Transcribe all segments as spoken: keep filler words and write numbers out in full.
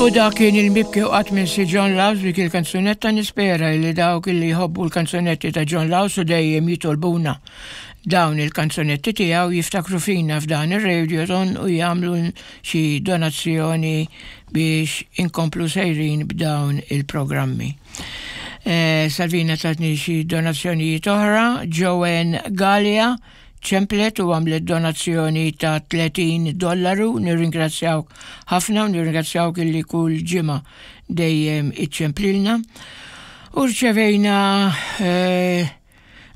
U dak kien il-mibki u qatt minsi John Laws dik il-kanzunetta. Nispera li dawk li jħobbu l-kanzunetti ta' John Laws u dejjem jitolbuna dawn il-kanzunetti tiegħu jiftakru fina f'dan ir-radiothon u jagħmlu xi donazzjoni biex inkomplu sejrin b'dawn il-programmi. Eh, Salvina tatni xi donazzjonijiet oħra. Joanne Gallia ċemplet u għamlet donazzjoni ta' tletin dollaru, nirringrazzjawk ħafna u nirringrazzjawk illi kull ġimgħa dejjem iċċemplilna. U rċevejna eh,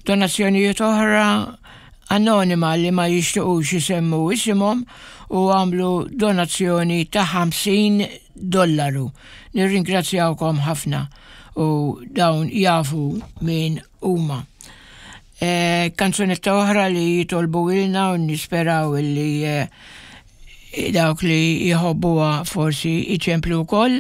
donazzjonijiet oħra anonima li ma jixtiqux jisemmu isimhom u għamlu donazzjoni ta' ħamsin dollaru. Nirringrazzjawkom ħafna u dawn jafu min huma. E, kanzunetta oħra li jitolbu ilna u nisperaw li e, dawk li jħobbuha forsi iċemplu wkoll.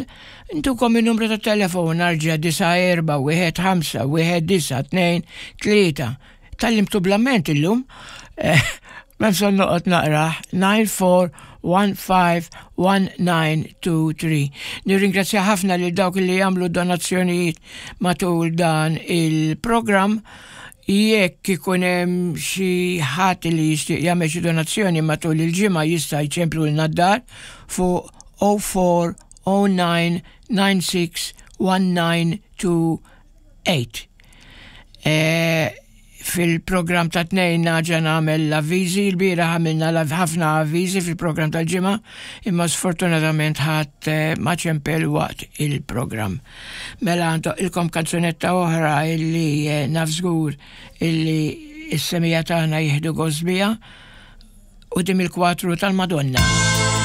Intukom il-numru ta' telefon arġa: disa' erba' wieħed ħamsa wieħed disa' tnejn tlieta. Tgħallimtu bl-amment illum. Eh, Ma bżonn noqgħod naqrah. nine four one five one nine two three. Nirringrazzja ħafna lil dawk li jagħmlu donazzjonijiet matul dan il-programm. Jekk ikun hemm xi ħadd li jixtieq jagħmel xi donazzjoni matul il-ġimgħa, jista' jċemplu lil d-dar fuq zero four zero nine nine six one nine two eight. Eh, fil-program ta' tnejn nerġa' nagħmel l-avviżi. Il-bieraħ għamilna ħafna avviżi fil-program tal-ġimgħa, imma sfortunatament ħadd eh, ma ċempel waqt il-program. Mela ilkom kanzunetta oħra illi eh, naf żgur illi s-semmiegħa tagħna jieħdu gost biha u dim il-kwatru tal-Madonna.